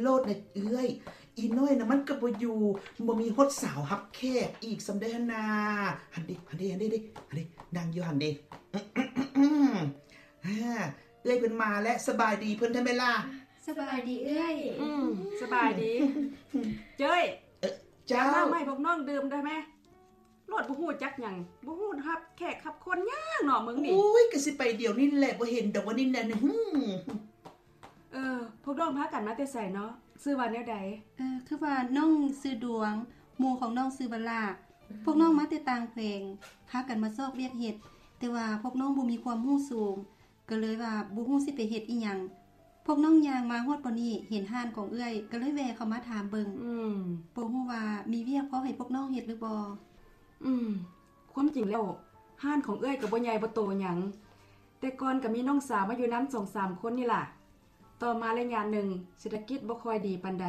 ໂລດນະເອື້ອຍ. ອີນ້ອຍນະມັນກໍບໍ່ຢູ່ ບໍ່ມີຮອດສາວຮັບແຂກອີກສ່ຳໃດຫັ້ນນາ. ຫັ້ນເດ ຫັ້ນເດ ຫັ້ນເດ ຫັ້ນເດ ນັ່ງຢູ່ຫັ້ນເດ. ເອື້ອຍເພິ່ນມາແລ້ວ ສະບາຍດີເພິ່ນແທ້ແມ່ນລະ? ສະບາຍດີເອື້ອຍ. ອືມ ສະບາຍດີ. ເຈ້ຍ ເອີ ເຈົ້າ ມາໃຫ້ພວກນ້ອງດື່ມໄດ້ແມ? ໂລດ ບໍ່ຮູ້ຈັກຫຍັງ ບໍ່ຮູ້ຮັບແຂກຮັບຄົນຫຍັງເນາະ ມຶງນີ້. ໂອ້ຍ ກໍຊິໄປດຽວນີ້ແຫຼະ ບໍ່ເຫັນດອກວ່ານີ້ນະ. ເອີ ພວກນ້ອງພາກັນມາແຕ່ໃສເນາະ? ຊື່ວ່າແນວໃດ? ເອີ ຄືວ່ານ້ອງຊື່ດວງ ໝູ່ຂອງນ້ອງຊື່ວະລາ. ພວກນ້ອງມາແຕ່ຕ່າງແຂວງ ພາກັນມາຊອກວຽກເຮັດ ແຕ່ວ່າພວກນ້ອງບໍ່ມີຄວາມຮູ້ສູງ ກໍເລີຍວ່າບໍ່ຮູ້ຊິໄປເຮັດອີ່ຫຍັງ. ພວກນ້ອງຍ່າງມາຮອດບ່ອນນີ້ ເຫັນຮ້ານຂອງເອື້ອຍ ກໍເລີຍແວ່ເຂົ້າມາຖາມເບິ່ງ. ອືມ ບໍ່ຮູ້ວ່າມີວຽກພໍໃຫ້ພວກນ້ອງເຮັດຫຼືບໍ່? ອືມ ຄວາມຈິງແລ້ວ ຮ້ານຂອງເອື້ອຍກໍບໍ່ໃຫຍ່ບໍ່ໂຕຫຍັງ ແຕ່ກ່ອນກໍມີນ້ອງສາວມາຢູ່ນຳສອງສາມຄົນນີ້ລະ. ຕໍ່ມາໄລຍະໜຶ່ງ ເສດຖະກິດບໍ່ຄ່ອຍດີປານໃດ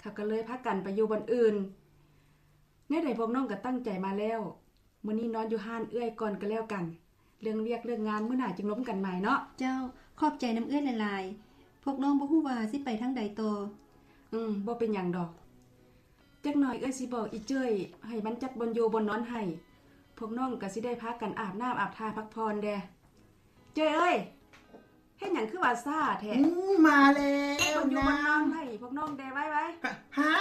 ເຂົາກໍເລີຍພາກັນໄປຢູ່ບ່ອນອື່ນ. ແນວໃດພວກນ້ອງກໍຕັ້ງໃຈມາແລ້ວ ມື້ນີ້ນອນຢູ່ຮ້ານເອື້ອຍກ່ອນກໍແລ້ວກັນ ເລື່ອງວຽກເລື່ອງງານມື້ໜ້າຈຶ່ງລົມກັນໃໝ່ເນາະ. ເຈົ້າ ຂອບໃຈນຳເອື້ອຍຫຼາຍໆ. ພວກນ້ອງບໍ່ຮູ້ວ່າຊິໄປທາງໃດຕໍ່. ອືມ ບໍ່ເປັນຫຍັງດອກ. ຈັກໜ່ອຍເອື້ອຍຊິບອກອີເຈ້ຍ ໃຫ້ມັນຈັດບ່ອນຢູ່ບ່ອນນອນໃຫ້ ພວກນ້ອງກໍຊິໄດ້ພາກັນອາບນ້ຳອາບທ່າພັກຜ່ອນແດ່. ເຈ້ຍເອີຍ ເຮັດຫຍັງຄືວ່າຊ້າແທ້? ອືມ ມາແລ້ວ ໃຫ້ບ່ອນຢູ່ບ່ອນນອນໃຫ້ພວກນ້ອງແດ່ ໄວໆ. ຮະ?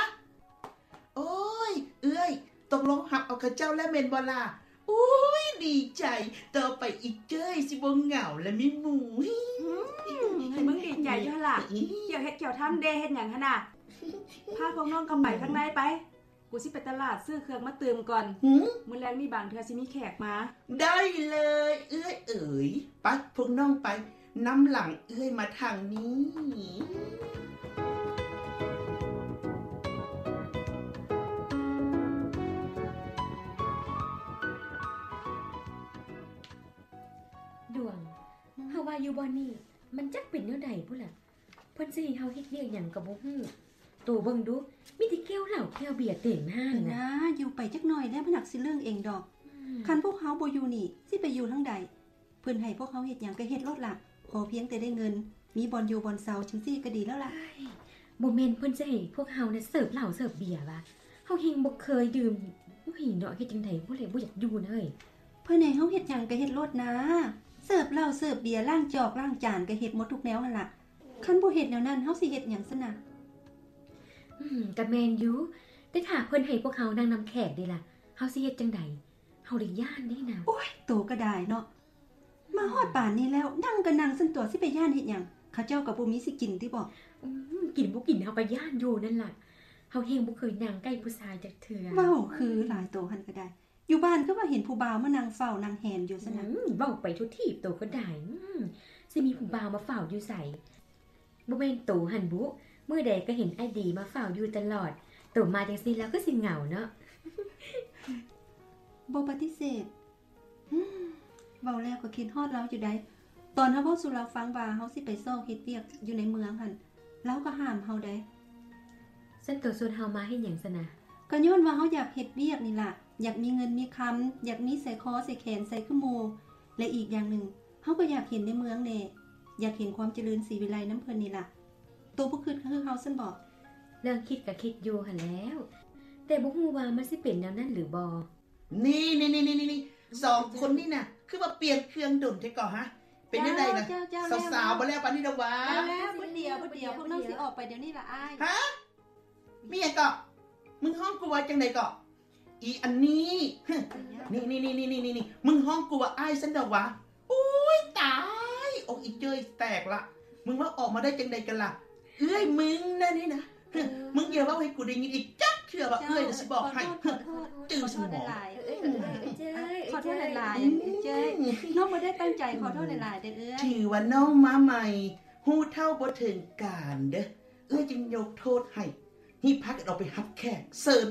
ໂອ້ຍ ເອື້ອຍ ຕົກລົງຮັບເອົາເຂົາເຈົ້າແລ້ວແມ່ນບໍ່ລະ? ໂອ້ຍ ດີໃຈ ຕໍ່ໄປອີເຈ້ຍຊິບໍ່ເຫງົາແລະມີໝູ່. ອືມ ໃຫ້ມຶງດີໃຈຢູ່ຫັ້ນລະ. ອືມ ກ່ຽວເຮັດກ່ຽວທຳແດ່ ເຮັດຫຍັງຫັ້ນນະ? ພາພວກນ້ອງເຂົ້າໄປຂ້າງໃນໄປ ກູຊິໄປຕະຫຼາດຊື້ເຄື່ອງມາຕື່ມກ່ອນ. ຫື? ມື້ແລງນີ້ບາງເທື່ອຊິມີແຂກມາ. ໄດ້ເລີຍເອື້ອຍເອີຍ ໄປ ພວກນ້ອງໄປ ນຳຫຼັງເອື້ອຍມາທາງນີ້. ດວງ ເຮົາວ່າຢູ່ບ່ອນນີ້ ມັນຈັກເປັນແນວໃດພຸ້ນລະ? ເພິ່ນຊິໃຫ້ເຮົາເຮັດວຽກຫຍັງກໍບໍ່ຮູ້. ໂຕເບິ່ງດູ ມີແຕ່ແກ້ວເຫຼົ້າແກ້ວເບຍເຕັມຮ້ານນະ. ນາ ຢູ່ໄປຈັກໜ່ອຍແລ້ວມັນຫາກຊິເລື່ອງເອງດອກ. ອືມ ຄັນພວກເຮົາບໍ່ຢູ່ນີ້ ຊິໄປຢູ່ທາງໃດ? ເພິ່ນໃຫ້ພວກເຮົາເຮັດຫຍັງກໍເຮັດໂລດລະ ຂໍພຽງແຕ່ໄດ້ເງິນ ມີບ່ອນຢູ່ບ່ອນເຊົາ ຈັ່ງຊີ້ກໍດີແລ້ວລະ. ເອີຍ ບໍ່ແມ່ນເພິ່ນຊິໃຫ້ພວກເຮົານະເສີບເຫຼົ້າເສີບເບຍຫວາ? ເຮົາແຮ່ງບໍ່ເຄີຍດື່ມ. ໂອ້ຍເນາະ ເຮັດຈັ່ງໃດບໍ່ແລະ ບໍ່ຢາກຢູ່ນະເອີຍ. ເພິ່ນໃຫ້ເຮົາເຮັດຫຍັງກໍເຮັດໂລດນາ ເສີບເຫຼົ້າເສີບເບຍ ລ້າງຈອກລ້າງຈານ ກໍເຮັດໝົດທຸກແນວຫັ້ນລະ. ຄັນບໍ່ເຮັດແນວນັ້ນ ເຮົາຊິເຮັດຫຍັງຊັ້ນນະ? ອືມ ກໍແມ່ນຢູ່ ແຕ່ຖ້າເພິ່ນໃຫ້ພວກເຮົານັ່ງນຳແຂກເດລະ ເຮົາຊິເຮັດຈັ່ງໃດ? ເຮົາລະຢ້ານເດ້ນາງ. ໂອ້ຍ ໂຕກໍໄດ້ເນາະ ມາຮອດປານນີ້ແລ້ວ ນັ່ງກໍນັ່ງຊັ້ນຕົວະ ຊິໄປຢ້ານເຮັດຫຍັງ? ເຂົາເຈົ້າກໍບໍ່ມີຊິກິນຕິບໍ? ອືມ ກິນບໍ່ກິນເຮົາກໍຢ້ານຢູ່ນັ້ນລະ ເຮົາແຮ່ງບໍ່ເຄີຍນັ່ງໃກ້ຜູ້ຊາຍຈັກເທື່ອ. ເວົ້າຄືຫຼາຍ ໂຕຫັ້ນກໍໄດ້ ຢູ່ບ້ານຄືວ່າເຫັນຜູ້ບ່າວມານັ່ງເຝົ້ານັ່ງແຫນຢູ່ຊັ້ນນະ. ອືມ ເວົ້າໄປທົ່ວທີບ ໂຕກໍໄດ້. ອືມ ຊິມີຜູ້ບ່າວມາເຝົ້າຢູ່ໃສ? ບໍ່ແມ່ນໂຕຫັ້ນບຸ ມື້ໃດກໍເຫັນອ້າຍດີມາເຝົ້າຢູ່ຕະຫຼອດ ໂຕມາຈັ່ງຊີ້ແລ້ວຄືຊິເຫງົາເນາະ. ບໍ່ປະຕິເສດ. ເວົ້າແລ້ວກໍຄິດຮອດລາວຢູ່ໃດ໋ ຕອນເຮົາເວົ້າສູ່ລາວຟັງວ່າເຮົາຊິໄປຊອກເຮັດວຽກຢູ່ໃນເມືອງຫັ້ນ ລາວກໍຫ້າມເຮົາໃດ໋. ຊັ້ນໂຕຊວນເຮົາມາເຮັດຫຍັງຊັ້ນນະ? ກໍຍ້ອນວ່າເຮົາຢາກເຮັດວຽກນີ້ລະ ຢາກມີເງິນມີຄຳ ຢາກມີສາຍຄໍສາຍແຂນໃສ່ຄືໝູ່ ແລະ ອີກຢ່າງໜຶ່ງ ເຮົາກໍຢາກເຫັນໃນເມືອງແດ່ ຢາກເຫັນຄວາມຈະເລີນສີວິໄລນຳເພິ່ນນີ້ລະ. ໂຕບໍ່ຄິດຄືເຮົາຊັ້ນບໍ? ເລື່ອງຄິດກໍຄິດຢູ່ຫັ້ນແລ້ວ ແຕ່ບໍ່ຮູ້ວ່າມັນຊິເປັນແນວນັ້ນຫຼືບໍ່. ນີ້ໆໆໆ ສອງຄົນນີ້ນະ ຄືວ່າປ່ຽນເຄື່ອງດົນແທ້ກໍຮະ? ເປັນແນວໃດນະ? ເຈົ້າໆ ສາວໆ ບໍ່ແລ້ວປານນີ້ດອກຫວາ? ແລ້ວໆ ຜູ້ດຽວ ຜູ້ດຽວ ພວກນ້ອງຊິອອກໄປດຽວນີ້ລະອ້າຍ. ຮະ? ມີຫຍັງເກາະ? ມຶງຮ້ອງກູວ່າຈັ່ງໃດເກາະ? ອີອັນນີ້ ນີ້ໆໆໆ ມຶງຮ້ອງກູວ່າອ້າຍຊັ້ນດອກຫວາ? ໂອ້ຍ ຕາຍ ອົກອີເຈີຍແຕກລະ ມຶງເວົ້າອອກມາໄດ້ຈັ່ງໃດກັນລະ? ເອື້ອຍມຶງນະນີ້ນະ ມຶງຢ່າເວົ້າໃຫ້ກູໄດ້ຍິນອີກຈັກເທື່ອວ່າເອື້ອຍນະຊິບອກໃຫ້ ຈື່ສະໝໍ. ຂໍໂທດຫຼາຍໆ ເອື້ອຍ ນ້ອງບໍ່ໄດ້ຕັ້ງໃຈ ຂໍໂທດຫຼາຍໆເດີ້ເອື້ອຍ. ຖືວ່ານ້ອງມາໃໝ່ ຮູ້ເທົ່າບໍ່ເຖິງການເດີ້ ເອື້ອຍຈຶ່ງຍົກໂທດໃຫ້. ຮີບພາກັນອອກໄປຮັບແຂກ ເຊີນ.